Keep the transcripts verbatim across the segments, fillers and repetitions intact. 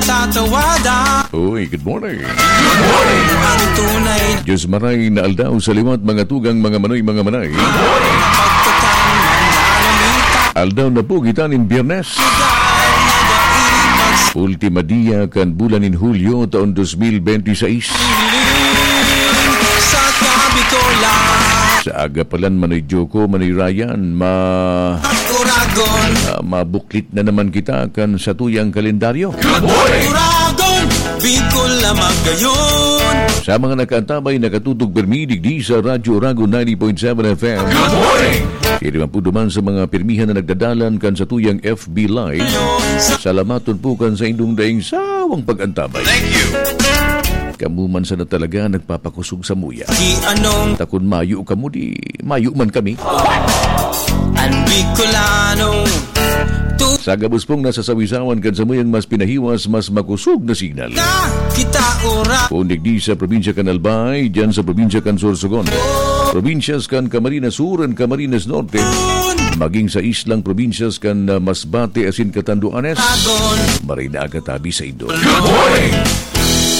Tatawada. Uy, good morning. Ang tunay na Diyos maray na aldaw sa liwat, mga tugang, mga manoy, mga manay. Pagtatang mananamita. Aldaw na po kita nin Biyernes. Lugar na daipas. Ultima dia kan bulan nin Hulyo, taon dos mil benti sais. Sa tabi ko lang. Sa aga pa lang, Manoy Joko, Manoy Ryan, ma- Uragon. Ah, mabuklit na naman kita kan satuyang kalendaryo. Good morning! Uragon, Bicol na magayon. Sa mga nakaantabay, nakatutok pirmi digdi sa Radyo Uragon ninety point seven F M. Good morning! Kaya naman po duman sa mga pirmihan na nagdadalan kan satuyang F B Live. Salamaton po kan saindong daing sawang pag-antabay. Thank you! Kamo man sana talaga nagpapakusog samuya. Di anong Ta kun mayo kamo, di mayo man kami. An Bicolano. Tu- Sa gabos pong nasasawisawan kan samuyang mas pinahiwas, mas makosog na signal. Na kita ora. Kung digdi sa probinsya kan Albay, dyan sa probinsya kan Sorsogon. Probinsyas kan Camarines Sur and Camarines Norte. Maging sa islang probinsyas kan, ah, Masbate asin Catanduanes. Agon. Maray na aga tabi sa indo. Good morning!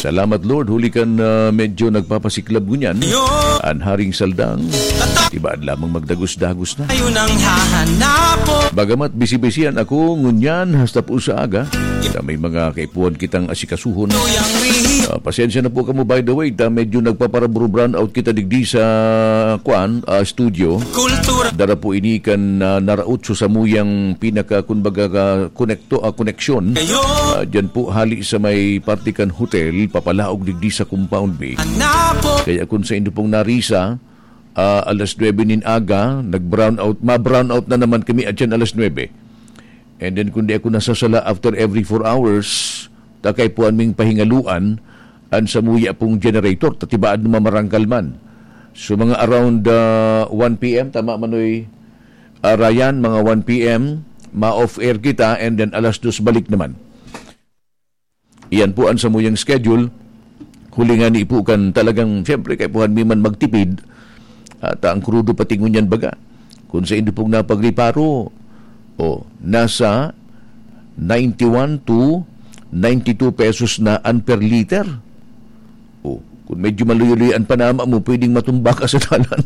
Salamat, Lord, huli kan, ah, medyo nagpapasiklab ngunyan. Yo. An Haring Saldang, Tata- tibaad lamang magdagos-dagos na. Ayun ang hahanapon. Bagamat bisi-bisihan ako ngunyan hasta po sa aga, na may mga kaipuhan kitang asikasuhon. Tuyang rihi. Ah, pasensya na po kamo, by the way, ta medyo nagpapara-brownout kita digdi sa, kwan, ah, studio. Kultura. Dara po ini kan, ah, naraot sa samuyang pinaka, kumbaga, ka-, konekto, ah, koneksyon. Kayo. Ah, dyan po, hali sa may parte kan hotel, papalaog digdi sa compound B. Anapo. Kaya kung saindo pong narisa, ah, alas nuebe nin aga, nag-brownout, ma-brownout na naman kami at yan alas nuebe. And then, kung di ako nasasala, after every four hours, ta kaipuhan ming pahingaluan an samuya pong generator, ta tibaad na mamarangkal man. So, mga around, ah, one P M, tama, Manoy, ah, Ryan, mga one P M, ma-off air kita, and then alas dos balik naman. Iyan po an samuyang schedule. Huli ngani po kan talagang, siyempre, kaipuhan mi man magtipid. At ang krudo pati ngunyan baga. Kung saindo pong napagreparo, o, nasa ninety-one to ninety-two pesos na an per liter. O, kung medyo maluyo-luyo an panama mo, pwedeng matumba ka sa dalan.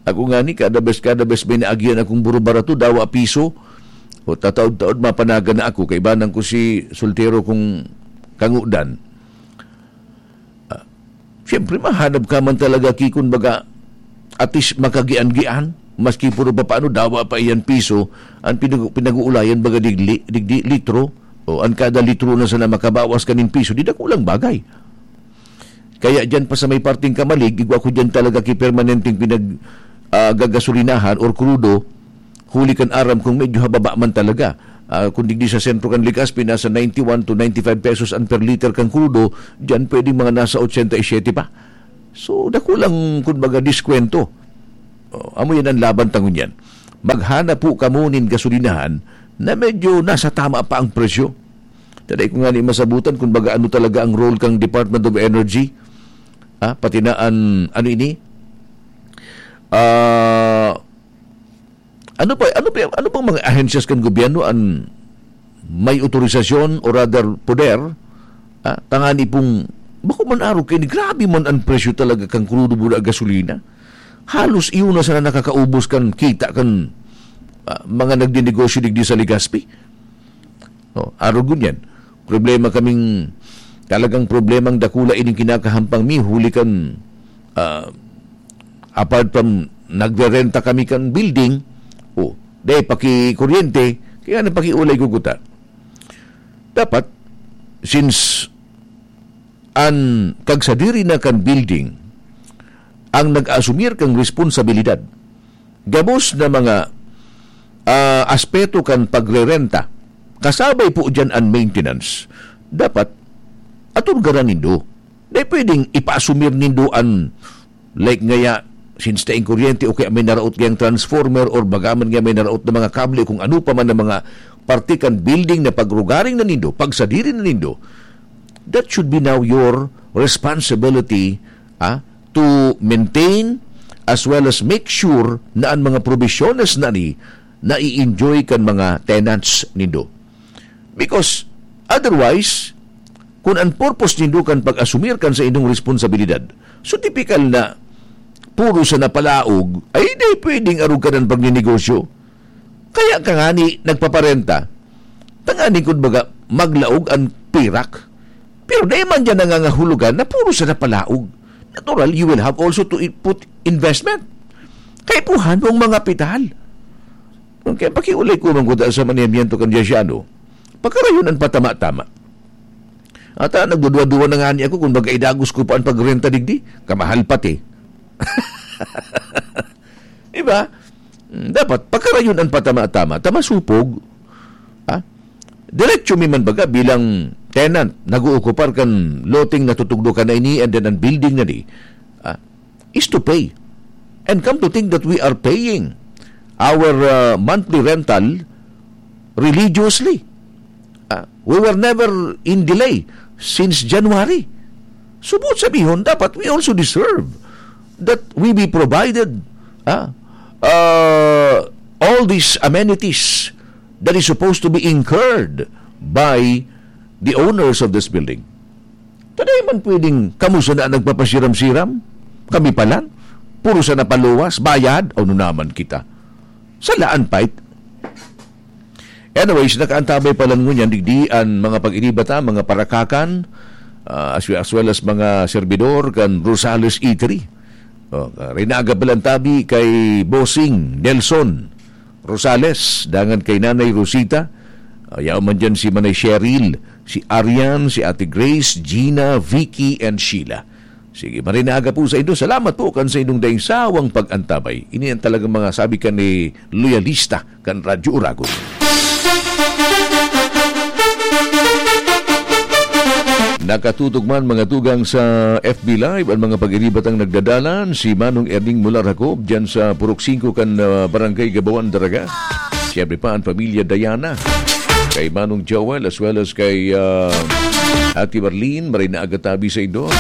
Ako ngani, kada bes, kada bes may naagihan akong burubarato, dawa piso. O, tataod-taod, mapanagan na ako. Kaibanan ko si soltero kong kangudan. Ah, siyempre, mahanap ka man talaga, ki, kun baga, at least makagian-gian. Maski puro papaano, dawa pa iyan piso, ang pinag-, pinag-uulayan baga digli, digdi, litro. O, ang kada litro na sana makabawas ka nin piso, di dakulang bagay. Kaya diyan pa sa may parteng Camalig, igwa ko diyan talaga ki permanenteng pinag, ah, gagasolinahan or krudo, huli kan aram kong medyo hababa man talaga. Ah, kung digdi sa sentro kan Legazpi, nasa ninety-one to ninety-five pesos ang per liter kan krudo, diyan pwedeng mga nasa ochenta y siete pa. So, dakulang, kumbaga, diskwento. Oh, amo yan ang laban ta ngunyan. Maghanap po kamo nin gasolinahan na medyo nasa tama pa ang presyo. Taday ko nga ni masabutan kung baga ano talaga ang role kang Department of Energy. Ah, pati na an, ano ini? Ah, ano pa, ano pa, ano pang mga ahensyas kan gobyerno an may otorisasyon o rather poder, ah, tangani pong, bako man arog kaini, grabe man ang presyo talaga kan krudo buda gasolina. Halos iyo na sana nakakaubos kan kita kan, ah, mga nagdinegosyo digdi sa Legazpi. Oh, arog ngunyan. Problema kaming, talagang problemang dakula ining kinakahampang mi, huli kan, ah, apart from nagrerenta kami kan building, oh, dai paki kuryente, kaya na pakiulay ko kuta. Dapat, since an kagsadiri na kan building ang nag-asumir kan responsabilidad, gabos na mga, ah, aspeto kan pagrerenta, kasabay po diyan an maintenance. Dapat, aturgaran nindo. Dai pwedeng ipaasumir nindo an, like ngaya, since taing kuryente o kaya may naraot kayang transformer or baga man nga may naraot na mga kable o kung ano pa man na mga parte kan building na pagrugaring na nindo, pagsadiri na nindo, that should be now your responsibility, ah, to maintain as well as make sure na ang mga probisyones na ni nai-enjoy kan mga tenants nindo. Because Otherwise, kun an purpose nindo kan pag-asumir kan saindong responsabilidad, so tipikal na puro sa napalaog, ay di pwedeng arog ka ng pagnenegosyo. Kaya ka nga ni nagpaparenta, tanganing kun baga maglaog an pirak. Pero dai man diyan nangangahulugan na puro sa napalaog. Natural, you will have also to i- put investment. Kaipuhan mong mga pital. Kaya pakiulay ko man kuta sa manehamiento kan Diasiano. Pagkarayon an patama-tama. Ata nagduduwa-duwa na nga ni ako kung baga idagos ko pa ang pagrenta digdi. Kamahal pati. Diba? Mm, dapat pagkarayon an patama-tama. Tama supog. Ha? Diretso mi man baga bilang tenant, nag-ookupar kan loteng natutugdo ka na ini and then ang building na di. Ha? Is to pay. And come to think that we are paying our uh, monthly rental religiously. Ah, we were never in delay since January. Subot sabihon, dapat we also deserve that we be provided ah, uh, all these amenities that is supposed to be incurred by the owners of this building. Taday man pwedeng kamo sana nagpapasiram-siram? Kami pa lang? Puro sa napaluwas, bayad, o naman kita? Salaan, pait. Anyways, nakaantabay pa lang ngunyan digdi an mga pag-iniba ta, mga parakakan, ah, as, as well as mga servidor kan Rosales Eatery. Oh, ah, rinaga pa lang tabi kay Bossing Nelson Rosales, dangan kay Nanay Rosita. Ah, yaon man dyan si Manay Cheryl, si Arian, si Ate Grace, Gina, Vicky, and Sheila. Sige, marinaga po sa inyo. Salamat po kan sa inyong daing sawang pag-antabay. Ini ang talagang mga sabi ka ni loyalista kan Radyo Uragon. Nakatutok man mga tugang sa F B Live ang mga pag-iribatang nagdadalan, si Manong Erning Mular Jacob dyan sa Purok singko kan, ah, Barangay Gabawan, Daraga. Siyempre pa ang pamilya Diana. Kay Manong Joel as well as kay, ah, Ate Marlene, maray na aga tabi sa inyo.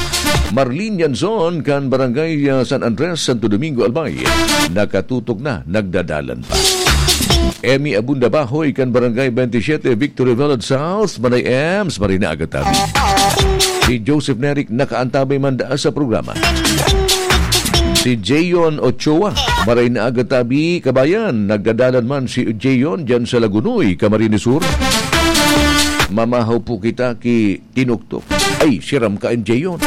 Marlene Yanzon kan Barangay, ah, San Andres, Santo Domingo, Albay. Nakatutok na, nagdadalan pa. Emmy Abunda Bahoy kan Barangay twenty-seven, Victory Village South, Manay Ems, maray na aga tabi. Si Joseph Neric nakaantabay man daa sa programa. Si Jayon Ochoa, maray na aga tabi, kabayan. Nagdadalan man si Jayon dyan sa Lagunoy, Camarines Sur. Mamahaw po kita ki Tinuktok. Ay, siram ka, M J, yun.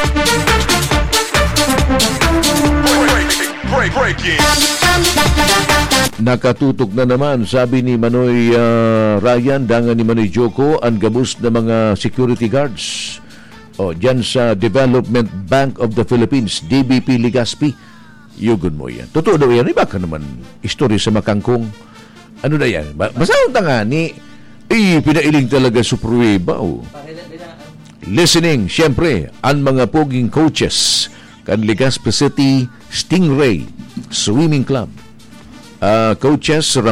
Break, break, breaking. Nakatutok na naman, sabi ni Manoy, ah, Ryan, dangan ni Manoy Joko, ang gabos na mga security guards. O, dyan sa Development Bank of the Philippines, D B P Legazpi. Yugon mo yan. Totoo daw yan. Iba ka naman istorya sa makangkong. Ano na yan? Ba- Basta ang tanga ni, eh, pinailing talaga sa pruweba, oh. Listening, siyempre, ang mga poging coaches kan Legazpi City Stingray Swimming Club. Ah, coaches Ramon